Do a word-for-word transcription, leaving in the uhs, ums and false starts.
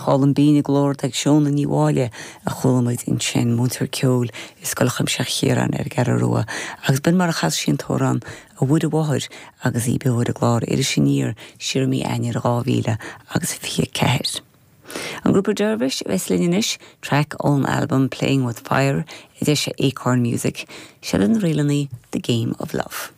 Álainn binn i nglór ag Seona Ní Mháille a chuala muid ansin múinteoir ceoil i Scoil Chuimsitheach Chiaráin ar an gCeathrú Rua, agus b'in mar a chas sí an t-amhrán A Mhuire Mháthair agus í beo ar an gclár Iris Aniar siar i mí Eanáir dhá mhíle agus fiche ceathair. An grúpa Dervish a bheas linn anois traic ón albam Playing with Fire a d'eisigh Acorn Music, siad na ríleanna The Game of Love.